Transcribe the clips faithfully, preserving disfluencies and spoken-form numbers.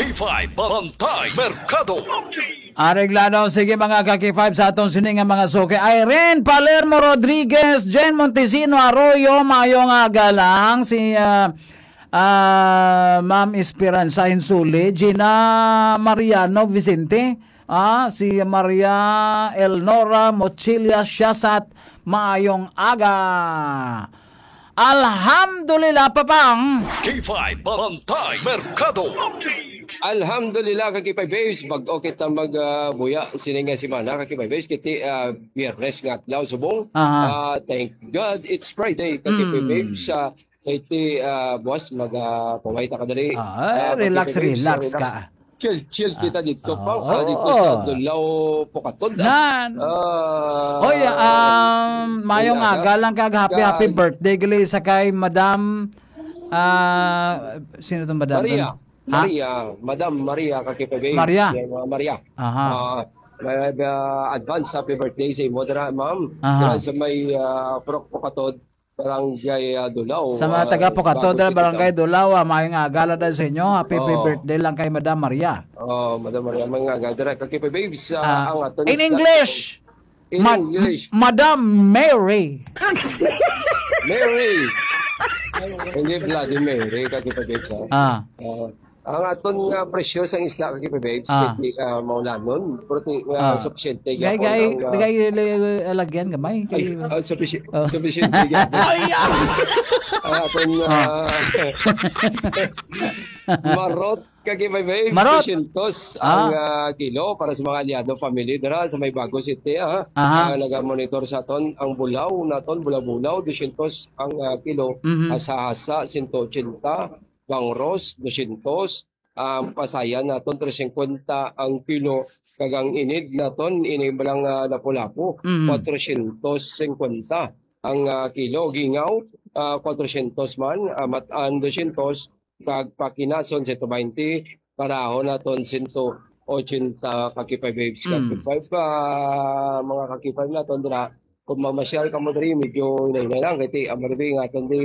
K five Bantay Merkado. Areglado, sige, mga ka-K five, sa atong sini nga mga suki. Irene Palermo Rodriguez, Jen Montesino Arroyo, maayong aga lang. Si, ah, ah, Ma'am Esperanza Insuli, Gina Mariano Vicente, ah, si Maria Elnora Mochilla Siasat, maayong aga. Alhamdulillah, Papang. K five Bantay Merkado. Alhamdulillah, ka-K five Babes. Bag-o kita mag, ah, buya sini nga semana, ka-K five Babes. Kiti, ah, Biyernes nga adlaw, subong. Aha. Ah, thank God it's Friday, ka-K five Mm. Babes. Ah, kay ti, ah, buwas, mag, ah, paway ta kadali. Ah, Ah, relax, ka-K five Babes, relax relax. ka. Chill, chill Ah, kita dito, ah, pa. Ah, dito sa oo. Dulao, Pukatod, ah. Nan. Ah, Oy, um, mayong may aga. aga lang kag happy, happy Kag birthday gali sa kay Madam, ah, sino tong Madam Maria. ton? Ha? Maria, Madam Maria, ka-K five Babes. Maria. Yan, mga Maria. Aha. Ah, may, ah, advance happy birthday sa imo, dira, ma'am. Aha. Dira sa may, ah, Purok Pukatod, Barangay, ah, Dulao, Sa mga ah, taga Pukatod, Bagong City Barangay Town. Dulao, ah, maayong aga lang sa inyo. Happy, happy Oo. birthday lang kay Madam Maria. Oh, Madam Maria, mga aga. Dira, ka-K five Babes, ah, Ah, ang aton in isda English. In Ma-, English. Madam Mary. Mary. Hindi Vladimir, eh, ka-K five Babes, ah. Ah. Ah, ang aton nga presyo sa isda, ka-K five Babes, Ah. hindi, ah, maulanon. Pero ti-, ah, Ah. sufisyente Gay, gyapon gay, ang, ah, gay, le-, alagyan gamay. Ay, Kay ah, sufisi-, Oh. sufisyente gyapon. Ay, ah! Ang aton, Ah. ah, marot, ka-K five Babes, Marot. dosyentos ang, Ah. ah, kilo para sa mga Aliado family dira sa may Bago City, ah. Aha. Ah, nagamonitor sa aton ang bulaw naton, bulaw-bulaw, dosyentos ang, ah, kilo. Mhm. Hasa-hasa, sento ochenta, bangros, dosyentos, ang pasayan naton, tres singkwenta ang kilo, kag ang inid naton, ini balang, ah, lapu-lapu, Mhm. kwatrosyentos singkwenta ang, ah, kilo. Gingaw, ah, kwatrosyentos man, ah, matan, dosyentos, kag pakinason, sento baynte, parahon naton, sento ochenta, ka-K five Babes, Mm. ka-K five, ah, mga ka-K five naton dira. Kung mamasyal kamo diri, medyo hinay-hinay lang, kay ti, ang marami nga aton di,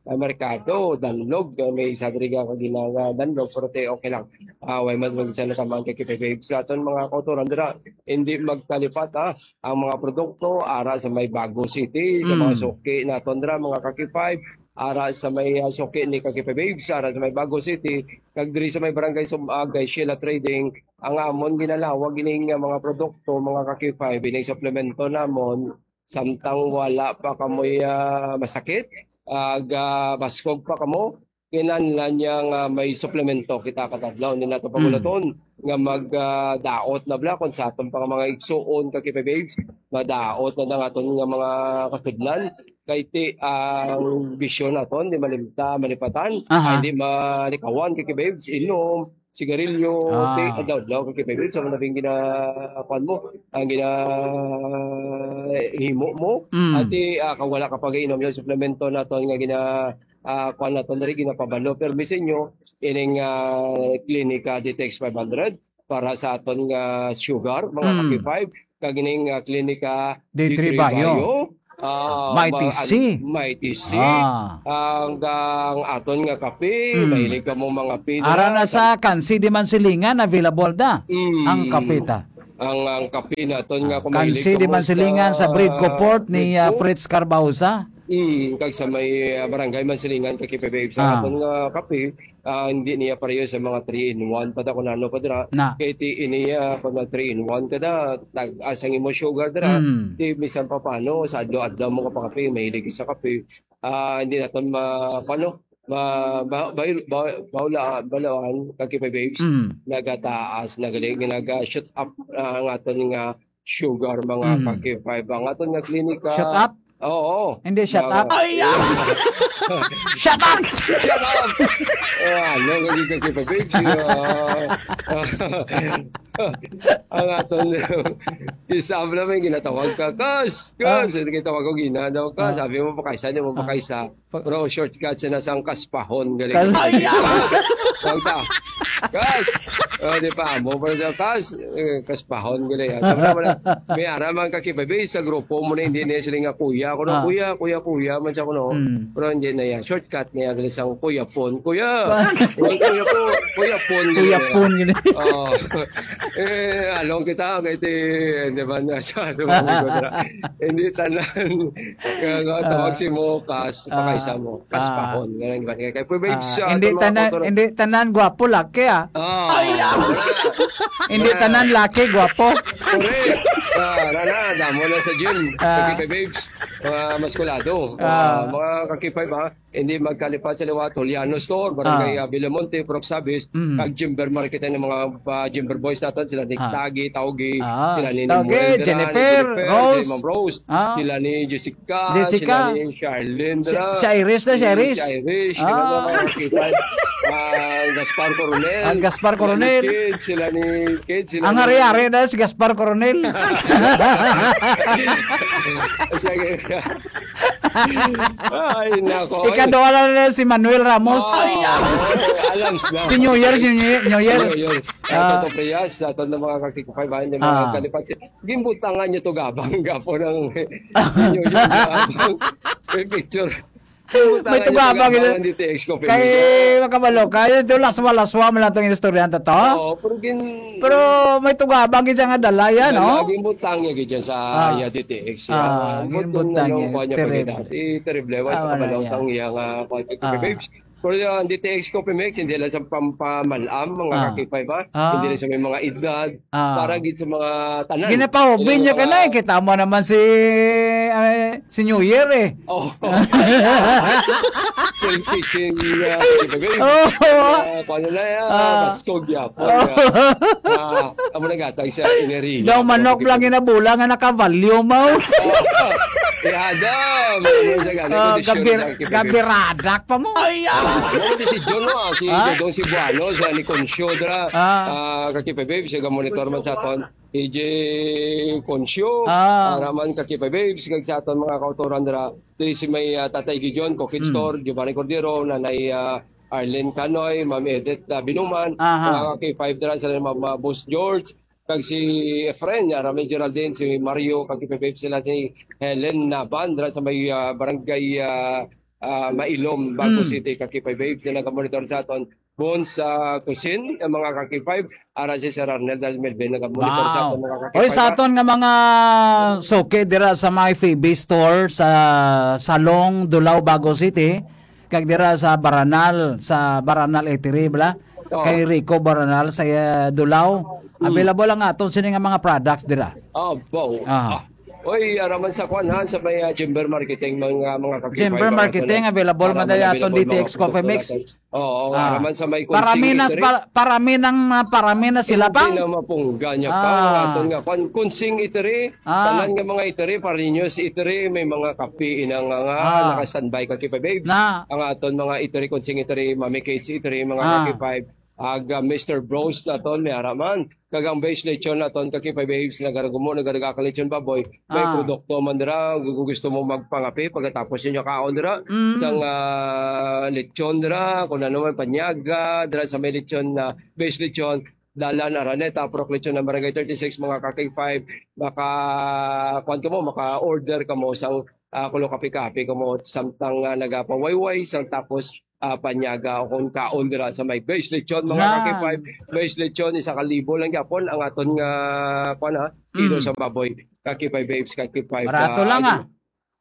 ah, merkado, danlog, ah, may isa diri nga ginanga danlog, pero ti, okay lang. Ah, way man, way sa nakaman, ka-K five Babes. Sa aton mga kautoran dira, hindi magkalipat, ah, ang mga produkto ara sa may Bago City, sa mga Mm. suki naton dira, mga ka-K five, ara sa may, ah, suki ni ka-K five Babes, ara sa may Bago City, kag diri sa may Barangay Sumag, kay Sheila Trading, ang amon ginalawag ining, ah, mga produkto, mga ka-K five, ining suplemento namon, samtang wala pa kamoy, ah, masakit, ah, ga-, baskog pa kamo, kinahanglan niya nga may suplemento kita kada adlaw. Hindi nato Mm. pagulaton nga mag, ah, daot na bala kung sa aton pa nga mga igsuon, ka-K five Babes, madaot na ang aton nga mga kasudlan. Kay ti, ang bisyo naton, di malimta, malipatan, Aha. ay, di malikawan, ka-K five Babes, inom, sigarilyo, Ah. ti, adlaw-adlaw, ka-K five Babes, sa mga labing gina-, kuwan mo, ang gina-, himo mo, Mm. ati, ah, kung wala ka pag-inom yung suplemento naton nga gina-, ah, kuwan naton diri, ginapabalo. Pero mi sa inyo, ining, ah, Klinika Detox five hundred para sa aton nga sugar, mga Mm. ka-K five, kag ining, ah, Klinika D three D three Bio. Bio. Ah, Mighty ma-, C. an-, Mighty C. Ah. Ang, ang aton nga kape, Mm. mahilig ka mo mga kape Ara na na sa Kansi di man silingan, available da Mm. ang kape ta. Ang, ang kape naton nga Ah, kung mahilig Kansi ka di mo man silingan sa sa Bread Co Port ni, Bread ah, Co. Fritz Carbausa. Mm, kag sa may, ah, Barangay Mansilingan, ka-K five Babes, sa Ah. aton nga kape, ah, hindi niya pareho sa mga three in one pa ta kung ano pa dira. Na. Kay ti ini, ah, kung nag three in one ka na, tag-as ang imo sugar dira. Mm. Ti bisan pa paano, sa adlaw-adlaw mo ka pakape, mahilig ka sa kape. Ah, hindi naton ma-, paano, ma-, ma-, ba-, ba-, baula-, balawan, ka-K five Babes, Mm. nagataas, nagaling, naga-shoot up, ah, ang aton nga sugar, mga Mm. ka-K five. Ang aton nga klinika. Shut up? Oo. Hindi, shut Mga up. Ay, ah! Shut up! Shut up! Ah, ano, lagi ka kita, babes? Ah, ang aton, isa mo naman, ginatawag ka, "Kas! Kas!" Ah. Hindi kita tawag ko, ginadaw ka. Ah. Sabi mo, "Pakaisa, di mo Ah. pakaisa." Pa- Pero shortcut sa nasang kaspahon, galing. Kas- Ay, ah! Tawag ka. Kas! Oh, di pa mo pa sa kas, eh, kaspahon gila yan. Tama naman na. May ara man ka K five Babes sa grupo mo na hindi na sila nga kuya. Ako na Ah. kuya, kuya, kuya man siya kuno. Mm. Pero hindi na yan. Shortcut na yan. Isang kuya phone. Kuya! Kuya, kuya po. Kuya phone. Kuya gila yan. Phone gila. Oh. Eh, along kita kay ti, di ba na sa ato mga kontra. Hindi tanan. Kaya nga, tawag Ah. si mo, kas, Ah. pakaisa mo. Kas Ah. pahon. Ganun ba? Kaya, kaya, Ah, babes, ah, hindi ito mga tanan, kultura. hindi tanan gwapo laki, ah. Ah, Ay, ah. wala. Hindi Wala. tanan laki gwapo. Correct. Ah, na, na, damo na sa gym. Ah. Kakipay babes. Mga maskulado. Ah. Ah, mga kakipay ba? Hindi magkalipat sa liwat, Juliano Store, Barangay, Ah. ah, Villamonte, Purok Sabis, Mm. kag Jimber Market, ang mga, ah, Jimber Boys naton, sila ni Ah. Tagi, Taugi, Ah, sila ni Taugi, Noel, sila ni Jennifer, Jennifer, Rose. Ma'am Rose, Ah. sila ni Jessica, Jessica. sila ni Charlene, Si, dira. si Iris na, si Si, Iris. si Iris, Ah. sila mga kakipay. Ah, Gaspar Coronel, Ang Gaspar sila ni Coronel. Kid, sila ni Kid, sila Ang ni hari-hari na si Gaspar Coronel. Siya, Ay, nako. Ikaduha na na si Manuel Ramos. Oh, Ay, ah. oh, alam sila. Si New Year, si New Year, New Year. New Year. Ah. Ato to, Prias, ato na mga kakikupay, ba, hindi mga Ah. kalipat. Gimbutangan niyo to, gabang, gapo ng New Year, gabang. May picture. Gimbutangan May niyo to, tugabang gabang, ito. Ang D T X ko, Kay picture. Makabalo, kaya ito laswa-laswa mo lang itong istorya na to. Oo, pero gin- Pero may tugabang gid siya nga dala yan, Wala, no? Gimbutang niya gid yan sa Ah. iya D T X. Ah, Ah, gimbutang gimbutang niya, niya, kuha niya pa terrible. gid. Eh, terrible. Wala Ah, pa wala kabalo yan. sang iya nga kuha, Ah. babes. Pero yung D T X Coffee Mix, hindi lang sa pampamalam, mga Ah. kakipay ba? Ah. Hindi lang sa may mga edad. Ah. Para gid sa mga tanan. Ginapahubin Hindi niya ka na mga na eh. Kita mo naman si, ay, si New Year eh. Oh. Still kicking, uh, di ba, babe? Oh. Uh, kung ano na yan, Ah. Baskog yapon, Oh. uh, uh, amo na gatag sa enerhiya. Daw manok lang ginabulang nga nakavalyo mo. Yada, may ano sa gani, Oh, kondisyon gabir-, sa kipipip. Gabiradak pa mo. Ay, ah. Ah, mo di si John, no? Ah, si Ha? Dodong Cebuano, sa ni Concio, dra. Ah. Ah, kakipe, babe, siya ga monitor man sa aton. D J Concio, Ah. ah, Raman Kakipa Babes, kag sa aton mga kautoran dira, diri si may, ah, Tatay Gideon, Cooking Hmm. Store, Giovanni Cordero, Nanay, ah, Arlene Canoy, Ma'am Edith, ah, Binuman, Aha. mga K five dira, sila Ma'am, ah, Boss George, kag si Efren, ah, Raman Geraldine, si Mario, Kakipa Babes, sila si Helen Naban, dira sa may, ah, barangay, ah, ah, Mailom, Bago Hmm. City, Kakipa Babes, sila ka-monitor sa aton. Bones, ah, Cuisine, ang mga ka-K five, ara si Sir Arnel, si Melvin, nagamonitor sa Wow. aton mga ka-K five, Oy, sa ah. aton nga mga suki dira sa may Phoebe Store sa Salong, Dulao, Bago City, kag dira sa Baranal, sa Baranal Eatery, bala? Oo. Kay Rico Baranal sa, eh, Dulao. Hmm. Available ang aton sini nga mga products dira. Ah, wow. Ah. Ah. Oy, ara man sa kwan, ha, sa may, ah, Jimber Marketing, mga, mga ka-K five, Jimber mga Marketing, tunay. Available Ara man man daya aton available, D T X mga Coffee Mix. produkto natin. Oo, Ah. ara man sa may Parami Kunsing na, Eatery. pa-, parami nang, ah, parami na sila Hindi pang. na mapungga niya pa. Ah. Ang aton nga, kwan, Kunsing Eatery, Ah. tanan nga mga eatery, Pariños Eatery, may mga kape ina nga, nga Ah. naka-standby ka, K five Babes. Na. Ang aton mga eatery, Kunsing Eatery, Mami Kate's Eatery, mga Ah. ka-K five, ag, ah, Mister Bros naton, may ara man. Kag ang base lechon naton, ka-K five Babes, nagaragumo, nagaraga ka lechon baboy. May Ah. produkto man dira, gu-, gusto mo magpangape pagkatapos ninyo kaon dira, Mm. sang, ah, lechon dira, kung ano man, panyaga, dira sa may lechon na base lechon, Dalan Araneta, Purok Lechon ng Barangay thirty-six, mga ka-K five, maka, kuwan ka mo, maka-order ka mo sang, ah, kulo kape-kape ka mo, samtang, ah, nagapawayway, sang tapos, ah, panyaga o kung kaon dira sa may base lechon, mga Yan. ka-K five, base lechon, isa ka libo lang gyapon ang aton nga, kuwan, ha, kilo Mm. sa baboy, ka-K five Babes, ka-K five, Barato ah, lang, ah.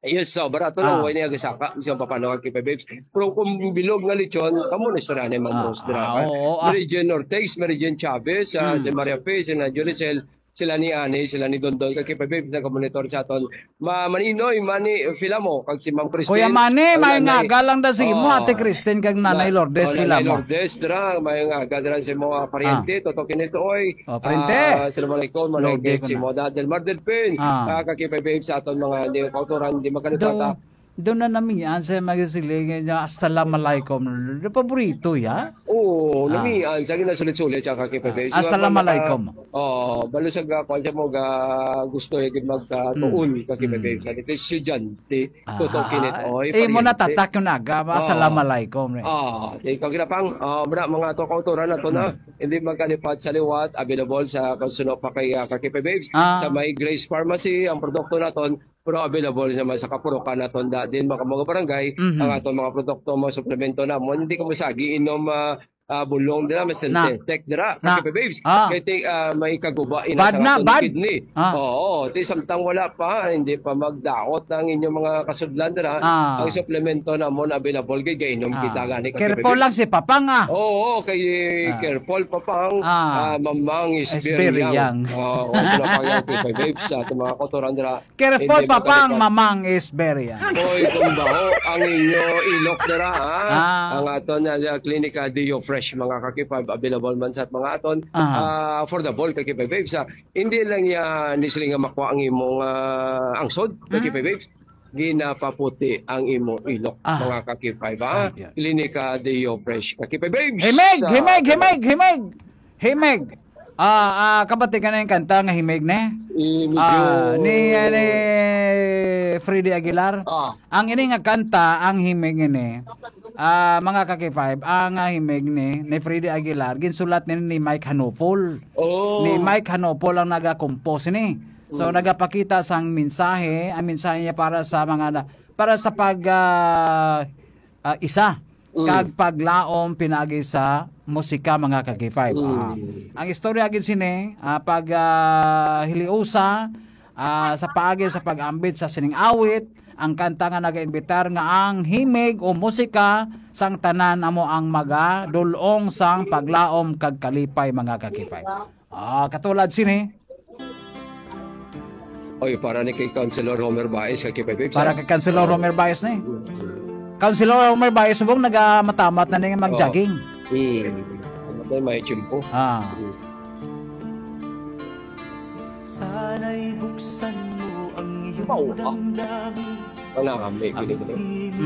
Yes, so, barato lang, Ah. way niya gisaka, siya papano ka-K five Babes. Pero kung bilog nga lechon, kamo na istorya ni Mang Ah, Rose dira, ah, ha? oo, ah. Mary Jane Ortiz, Mary Jane Chavez, ah, Mm. De Maria Fe, sila Jolicel, sila ni Ani, sila ni Dondon, ka-K five Babes, nagamonitor sa aton. Ma-, Maninoy, Mani, Filamo, kag si Ma'am Christine. Kuya Mani, kag may Nanay. nga galang da sa imo, Oo. Ate Christine, kag Nanay Na-, Lourdes oh, Nanay Filamo. Lourdes, dira, may nga galang sa imo, ah, pariente, Ah. Toto Kinito, oy. Oh, pariente. Ah, assalamualaikum, Manay Lourdes Gates, ko si na. Moda Del Mar Del Pin. Ah. Ah, ka-K five Babes sa aton mga hindi kautoran, hindi magkalipat, Do, ah. do na namian sa mga siling niya, "Assalamualaikum." Do paborito, ya? Oh, Oo, Ah. namian sa ginasulit-sulit siya, Kaki Ah, Pebes. Assalamualaikum. Oh, balo sa ga-, kwan siya mo, ga-, gusto yung mag, ah, Mm. tuon, Kaki Mm. Pebes. Sa dito, estudyante, Ah, Toto Kinet, ah, oy, eh, mo pariente. natatak yung naga, Oh. Assalamualaikum, eh. Oh, di ka ginapang, oh, muna, mga to kauturan na to na. Mm. Hindi magkalipat sa liwat, available sa konsuno pa kay, ah, Kaki Pebes. Ah. Sa may Grace Pharmacy, ang produkto naton, pero available naman sa kapurukan naton da, din mga, mga barangay, Mhm. ang aton mga produkto, mga suplemento na mo. Hindi ka mo sa giinom, ah, ah, bulong dira, mas Na. Tech dira, Na. Kaki Pebes. Ah. Kay ti-, ah, may kaguba ina Bad sa na, aton bad. kidney. Ah. Oo, ti samtang wala pa, hindi pa magdaot ang inyong mga kasudlan dira. Ah. Ang suplemento namon available kay gainom Ah. kita gani, Kaki Careful Pebes. lang si Papang, ah. Oo, kay Ah. careful, Papang. Ah. Ah, Mamang is Is very very young. young. Oo, so na pa yung Kaki Pebes sa ating mga kauturan dira. Careful, Hindi Papang, magkalipat. Mamang is very young. Oy, kung baho ang inyo ilok dira, ha? Ah. Ang aton na, uh, Klinika Deo Fresh, mga Kaki Pebes, available man sa mga aton. Ah. Ah, affordable, Kaki Pebes, ha? Hindi lang ya ni sila nga makuha ang imong, ah, angsod, Kaki Mm. Pebes. Ginapaputi ang imong ilok, Ah. mga Kaki Pebes, ha? Ah, yeah. Klinika Deo Fresh, Kaki Pebes, Himig, sa himig, himig, himig. Himig. Ah, ah, kabati ka na yung kanta nga Himig, ne? Eh, medyo Ah, ni, eh, ni Freddy Aguilar. Ah. Ang ini nga kanta, ang Himig ini, ah, mga Kaki Five, ang, ah, Himig ni, ni Freddy Aguilar, ginsulat ni, ni Mike Hanupol. Oh. Ni Mike Hanupol ang nagakompose ni. So, Mm. nagapakita sang mensahe, ang mensahe niya para sa mga na, para sa pag, ah, ah, isa Mm. kag paglaom pinaagi sa musika, mga Kaki Five. Mm. Ah, ang istorya gid sini, ah, pag, ah, hiliusa, ah, sa paagi sa pag-ambit sa sining awit, ang kanta nga nagaimbitar nga ang himig o musika sang tanan amo ang magadul-ong sang paglaom kag kalipay, mga Kaki Five. Ah, katulad sini. Oy, para ni kay Councilor Homer Baez, Kaki Five Babes, Para ha? kay Councilor Oh. Homer Baez ni. Mm. Councilor Homer Baez, subong nagamatamat na ning mag-jogging. Oh. Mm. Ano ba may tiyempo? Ah. Mm. Sana'y buksan mo ang iyong Wow, ah. damdamin. Manami, Ang gini, gini.